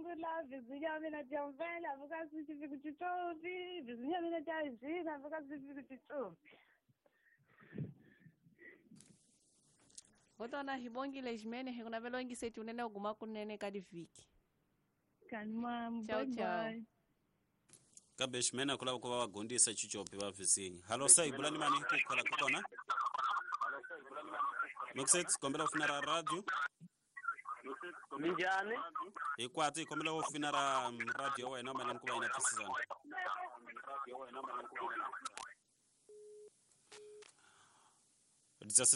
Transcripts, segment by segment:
rungula vizinha mina Jamvela vukasi xifiki xitshopi vizinha mina Jajina vukasi xifiki xitshopi. Gotona hi bongile ximene hi kuna velo ingiseti unene u guma kunene ka divhiki. Kanimam, Ciao, bye ciao. bye. Kambe ximene ku lava ku va va gondisa chichopi va vizinha. Halo sai bulani mani ku khala ka kona. Muxet kombela u fina ra radio. Minjhani? Hi kwatsi hi kombela u fina ra radio ya wena mayelana ku va yina twisisana.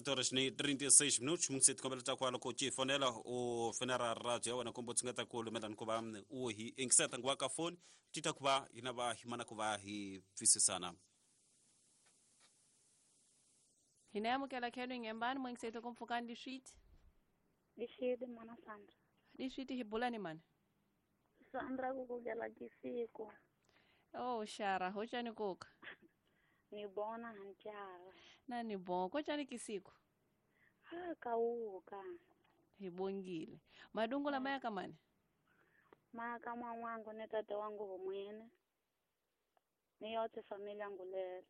Horas ni 36 minutos muxet kombela ta kwala ku ci fonela u fina ra radio ya wena kumbe u tshungeta ku lumelana ku va u hi ingiseta nguva ka foni ti ta ku va hina va hi mana ku va hi twisisana. Hina amukela khenu ngembani mwingiseti ku mpfukani diswiti. Dixidi mana Sandra. Diswiti hi bulani mana. Sandra ku kugela kisiku. Oh shara hochani koka. Ni bona hantyara. Na ni bon kochani kisiku. Ha kauka. Hi bongile. Madungu la maya kamani. Maka mwangu ni tata wangu humwene. Ni yote familia ngulele.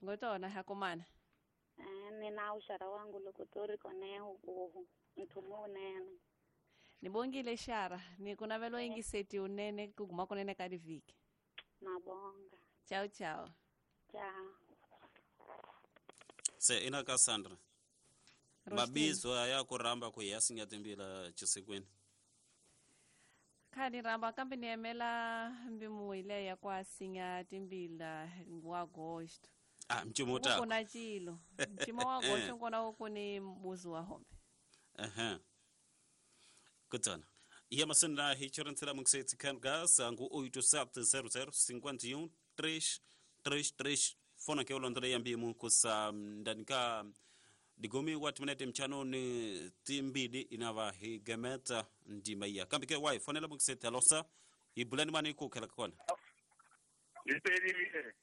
Ngotona hakomana. Ni na ushara wangu lokutori koneho kuhu. Mtumu unene. Nibongile shara. Ni kuna velo ingiseti unene kuguma kunene ka divhiki. Nabonga. Ciao ciao. Ciao. Se ina ka Sandra. Mabizo ya kuramba ku ya singa timbila chisikweni. Khani ramba kambe ni emela mbimu ile ya kwa singa timbila ngwa agosto. Ah mchimo ta. Kuna chilo. Mchimo wa agosto ngona ku ni mbuzi wa hombe. Aha. Kutana. Iya masenda hi chorantela mungsetsi kan gas angu 8700 51 333 fona ke ulondole ya mbimu kusa ndani ka digomi watu minete mchano ni timbidi inava hi gemeta ndima iya. Kambi ke wai fonela mungsetsi alosa ibulani mani kukela kona. Lipeli.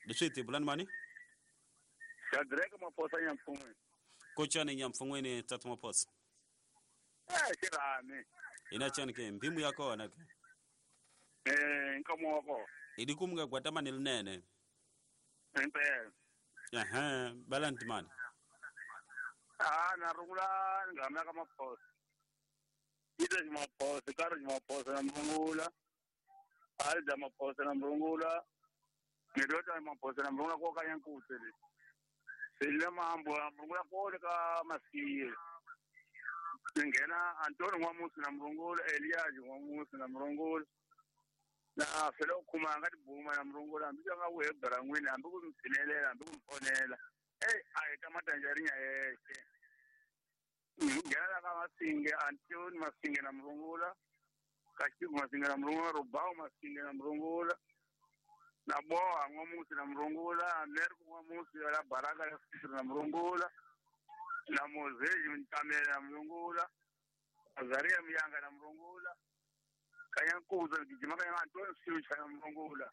Lishiti ibulani mani? Shadrack Maposa nyamfungwe. Kocha ni nyamfungwe tatu Maposa. Shirani. Ina chani ke mbimu yako na ke. Nkomo wako. Idikumga kwa tamani linene. Impela. Aha, balanti mani. Ah, na rungula ngamya ka Maposa. Ida Maposa, Karo Maposa na mrungula. Alda Maposa na mrungula. Mirota Maposa na mrungula kwa kanyankutele. Sile mambo na mrungula kwa ka masiye. Ngena Antoni Mwamusi na mrungula, Elias Mwamusi na mrungula. Na felo kuma ngati buma na mrungula, ambika nga webra ngwini, ambiku msinelela, ambiku mfonela. Ay kamatanjarinya yeshe. Ngena ka Masinge, Antoni Masinge na mrungula. Kashiku Masinge na mrungula, Rubao Masinge na mrungula. Na Boa Mwamusi na mrungula, Ameriku Mwamusi la Baraka ya na mrungula. Na Mozezi Mtamela na mrungula. Azaria Miyanga na mrungula. Kanyankuza gijima kanya Antoni Siucha na mrungula.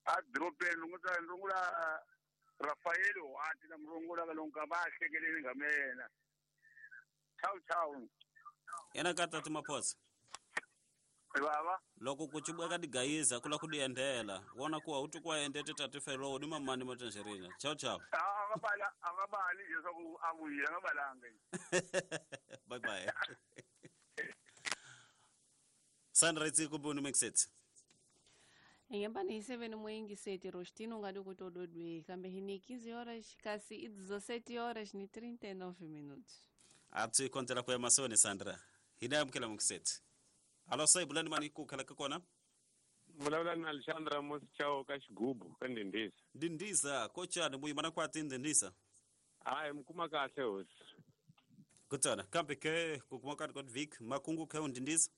Adrope lunguza mrungula Rafael Wati na mrungula kalonka bahlekeleni ngamena. Ciao ciao. Yena ka tatu Maposa. Baba. Loko kuchibwa ka digayiza kula kudiendela. Wona kuwa utukwa endete tatu felo ni mamani matanjerina. Ciao ciao. Akabala akabali nje soku akuyila ngabalanga. Bye bye. Sandra itsi kubuni mixet. Ngembani 7 mwingi seti Rostino ngadi kutododwe kambe hini 15 horas kasi 17 horas ni 39 minutos. Atsi kontela kwa masoni Sandra. Hina mkela mixet. Alo sai bulani mani kukhala ka kona? Vulavula na Alexandra Mosichao ka xigubu ka Ndindisa. Ndindisa kochani muyimana kwa Ndindisa. Hayi mkuma kahle hosi. Kutana kambe ke kukuma ka vik makungu ke Ndindisa.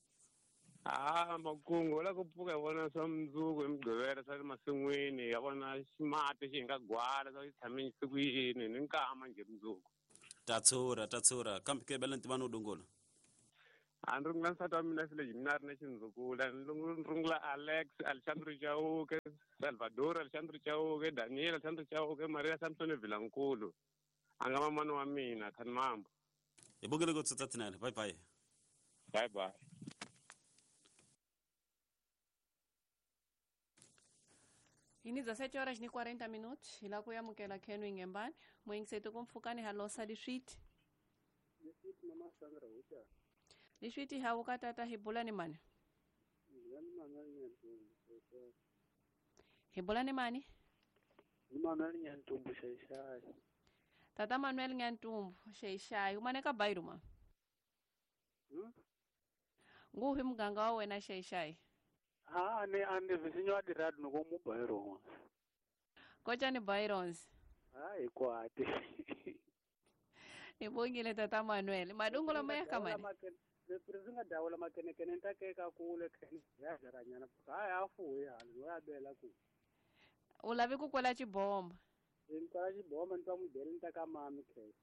Ah makungu la ku pfuka hi vona swa mundzuku hi Mugqivela swa le masin'wini ya vona ximati xi nga gwala swa xi tshame siku yini ni nkama njhe mundzuku. Tatsura kambe ke bela ntimano dungula. A ni rungula nsati wa mina File mina ri na xindzukula ni rungula Alex Alexandro Chauke Salvador Alexandro Chauke Daniel Alexandro Chauke Maria Samson Vilankulu a nga mamani wa mina Khanimambo. Hi bongile ku tsutsa tinene bye bye. Bye bye. Ini 17 horas ni 40 minutos ila kuyamukela khenu ingembani mwengisetu kumfukani halosa liswiti. Mama Sandra ucha. Liswiti hauka tata hibulani mani. Hibulani mani? Manuel Nyantumbu Shaishai. Tata Manuel Nyantumbu Shaishai umaneka bairu ma. Nguhi mganga wa wena Shaishai. Ha ane visinyo adiradu nuko mu Byron. Kocha ni Byrons. Ai kwate. Nibongile tata Manuel. Madungulo maya kamani. Leprezinga dawula makenekene ntakeka kule kheni yajaranyana. Hayi afuye hali wabela ku. Ulavi kukwela chibomba. Nkwela chibomba ntwa mudele ntaka mami kheni.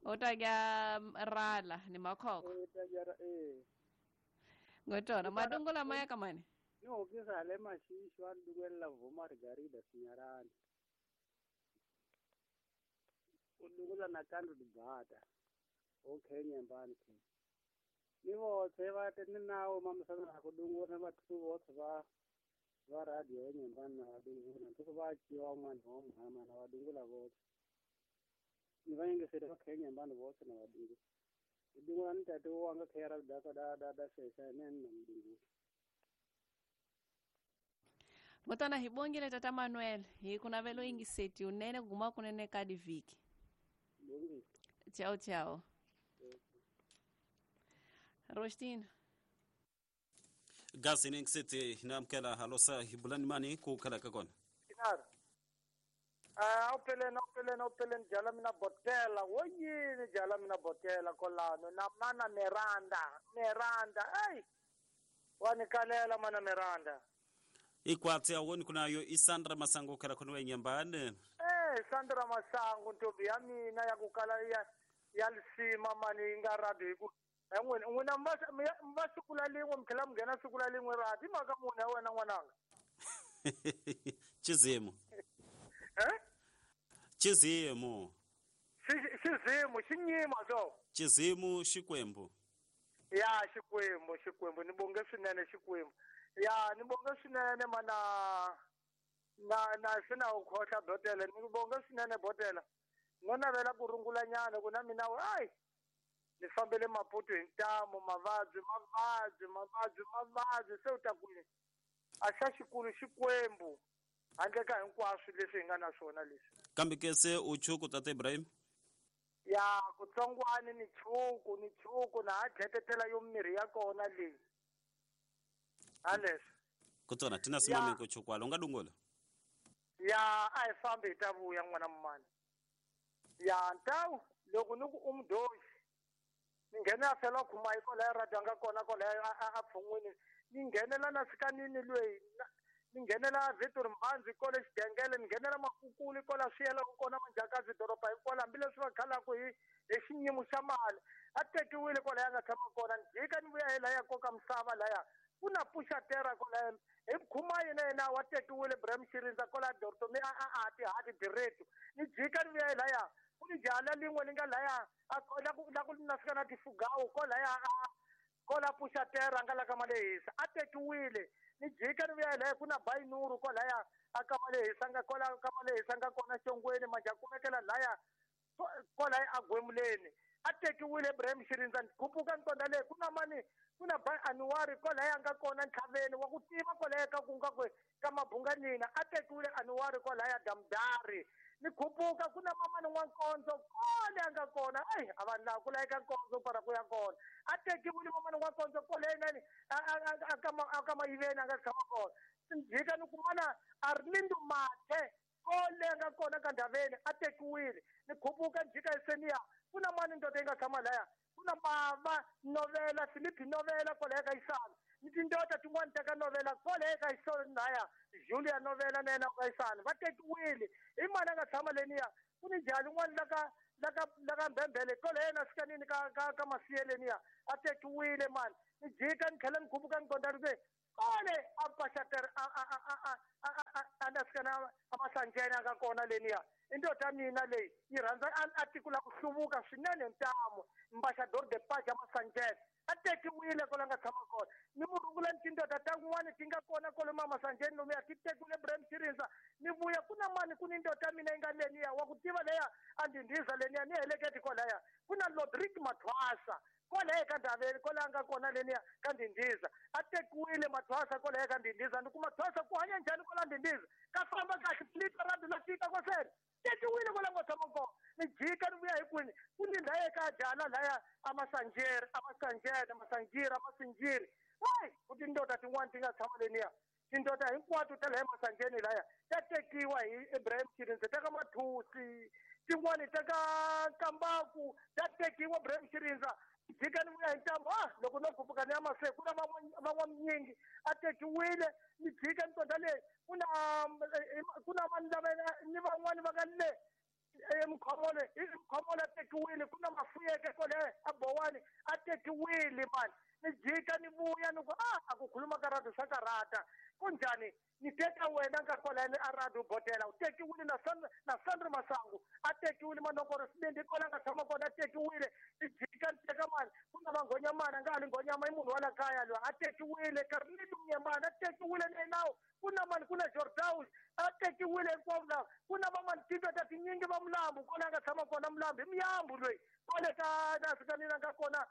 Utagya rala ni makhokho. Utagya Ngotona madungulo maya kamani. Ni hokisa le mashishu a dukwela vuma margarida sinyarani. Udukula na kandu dibata. Okay nyambani kheni. Ni vothe va ni nawo mamisana ku dungula vathu vothe va radio ya nyambani na vadungula ntiko va ciwa un'wana wa muhama na vadungula vothe ni va yingiseri va khe nyambani vothe na vadungula dungula ni tate wanga khe ra daka da da da shesha ne na mdungula. Ngotana hibongile tata Manuel hi kunavelo ingiseti unene guma kunene kadi viki. Ciao ciao. Rostin. Gasi ni ngisete namkela halosa hibulani mani kukhala kakona. Kinar. Opelen jala mina botela. Woyini jala mina botela kolano na mana Miranda. Hey. Wanikalela mana Miranda. Ikwatsi awoni kunayo Isandra Masango khala khona wenyambane. Sandra Masango ntombi ya mina ya kukala ya lisima mani nga radio ku n'wina mva siku la lin'we mi tlhela mi nghena siku la lin'we radi i mhaka munhu ya wena n'wananga. Chizimu. Chizimu. Xizimu xinyima so. Chizimu xikwembu. Ya xikwembu ni bonge swinene xikwembu. Ya ni bonge swinene mana na sina u khohla botela ni bonge swinene botela. No navela ku rungula nyana ku na mina ai ni fambele Maputo hi ntamu mavabyi se u ta ku a xa xikulu xikwembu handle ka hinkwaswo leswi hi nga na swona leswi. Kambe ke se u chuku tata Ibrahim? Ya kutsongwani ni chuku na ha dletetela yo mirhi ya kona leyi. Haleswo. Kutsona tina simame ko chukwala u nga dungula? Ya a hi fambi hi ta vuya n'wana mumani. Ya ntawu loko ni ku u mudyoxi ni nghenela fela khuma yi kwalaya radio a nga kona kwalaya a pfhungwini ni nghenela na sikanini lweyi ni nghenela Victor Mbanzi kole xidengele ni nghenela Makukuli kwala swi yelaka kona Manjakazi doroba hinkwalo hambileswi va khalaku hi xinyimo xa mali a tekiwile kwalaya a nga tshama kona ni jika ni vuya hi laya koka misava laya ku na puxatera kwalaya hi khuma yena yena wa tekiwile Ibrahim Xirindza kwala Dortomi a tihati direto ni jika ni vuya hi laya ku ni jaha lin'we li nga laya la ku na fika na tifugawu kwalaya kola puxatera nga la ka Malehisa a tekiwile ni jika ni vuya hi laya ku na Bainuru kwalaya a ka Malehisa nga kola ka Malehisa nga kona xongweni manje a kumekela laya kwalaya a gwemuleni a tekiwile Ibrahim Xirindza ni khupuka ni konda leyi ku na mani ku na Bai Anuwari kwalaya nga kona ntlhaveni wa ku tiva kwalaya ka ku nga ku ka Mabunganina a tekiwile Anuwari kwalaya Damdari ni khupuka ku na mamani N'wankondzo kole a nga kona ai a vanhu lava ku laveka nkondzo para ku ya kona a tekiwile mamani N'wankondzo kole nani a ka Mayiveni a nga tshama kona ni jika ni kumana Arlindo Mathe kole a nga kona ka Ndaveni a tekiwile ni khupuka ni jika Esenia ku na mani ndoda yi nga tshama laya ku na Bava Novela Philip Novela kwalaya ka Isana ni tindoda tin'wana ta ka Novela kwalaya ka Isana laya Julia Novela na yena ka Isana va tekiwile i mani a nga tshama leniya ku ni jaha lin'wana la ka Mbembele kwalaya na sikanini ka Masiyeleniya a tekiwile mani ni jika ni tlhela ni khupuka ni konda ri kole a paxatere a na sikana a Masanjeni a nga kona leniya I ndota mina leyi yi rhandza a tiko la ku hluvuka swinene ntamu ambassador de paja Masanjeni a tekiwile kwala nga tshama kona ni murungula ni tindoda ta n'wana ti nga kona kwale Masanjeni lomuya ti tekiwile Ibrahim Chirindza ni vuya ku na mani ku ni ndoda mina yi nga leniya wa ku tiva leya a ndhindhiza leniya ni heleketi kwalaya ku na Lodrick Mathwasa kwalaya ka Ndaveni kwalaya nga kona leniya ka ndhindhiza a tekiwile Mathwasa kwalaya ka ndhindhiza ni ku Mathwasa ku hanya njhani kwala ndhindhiza ka famba kahle plita ra la fika kwasele tekiwile kwala nga tshama kona ni jika ni vuya hi kwini ku ni ndhaye ka jala laya amasanjere amasanjene amasanjiri amasinjiri hayi ku tindoda tin'wana ti nga tshama leniya tindoda hinkwato ta laya Masanjeni laya ta tekiwa hi Ibrahim Chirindza ta ka Mathusi tin'wani ta ka Kambaku ta tekiwa Ibrahim Chirindza jika ni vuya hi ntambu loko no khuphuka ni ya mahlweni ku na van'wanyingi a tekiwile ni jika ni tonda leyi ku na vanhu lava ni van'wani va nga le Mkhomole Mkhomole a tekiwile ku na Mafuyeke kwale a Bowani a tekiwile mani ni jika ni vuya ni ku a ku khuluma ka radio swa karata kunjhani ni teka wena nga kwalani a radio bodela u tekiwile na Sandro Masangu a tekiwile Manokoro Sibindi kwala nga tshama kona a tekiwile ni jika ni teka mani ku na Vanghonyamana nga ha li Nghonyama i munhu wa la kaya loyi a tekiwile Carlito Mnyamana a tekiwile ni nawu ku na mani ku na Jordaus a tekiwile hinkwavo lava ku na van'wani tindoda tinyingi va Mulambu kwala nga tshama kona Mulambu i Muyambu loyi kwale ka nasi ka nina nga kona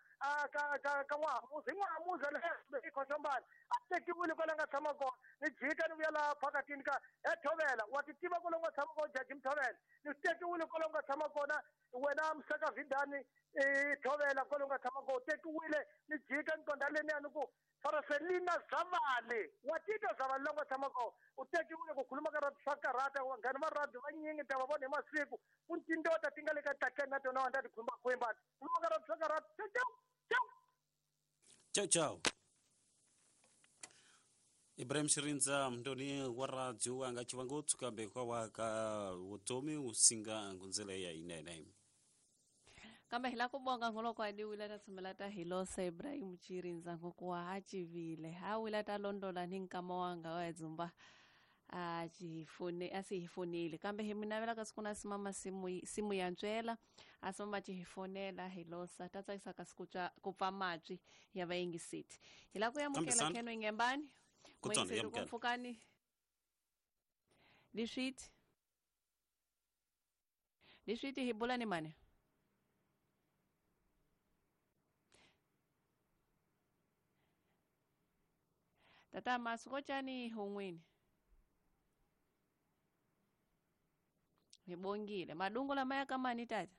ka N'wahamuzi hi N'wahamuzi le Khosombana a tekiwile kwala nga tshama kona ni jika ni vuya laha phakatini ka Thovela wa ti tiva kwala nga tshama kona Jaji Mthovela ni tekiwile kwala nga tshama kona wena Msaka Vidani Thovela kwala nga tshama kona tekiwile ni jika ni tonda leniya ni ku Faraselina Zavali wa titwa Zavali la nga tshama kona u tekiwile ku khuluma ka radio swa karata vanghani va radio vanyingi ta va vona hi masiku ku tindoda ti nga le ka tlakeni na tona va ta ti khumbakhumba khuluma ka radio swa karata ciao ciao ciao ciao. Ibrahim Chirindza mndoni wa radio anga chivangotsu kambe kwa waka vutomi usinga ngunzela ya inene kambe hi la ku bonga ngoloko a diwile ta tshumela ta hilosa Ibrahim Chirindza ngokuwa a chivile a wila ta londola ni nkama wanga wa dzumba a chifune a si hifonile kambe hi minavela ka siku na simama simu ya ntswela a simama chihifonela hilosa ta tsakisa ka siku ku pfa matwi ya vayingisiti hi la ku yamukela Keno Ingembani Kutsona yamukela mfukani liswiti liswiti hi bula ni mani tata masikochani hungwini nibongile madungu la maya kama ni tata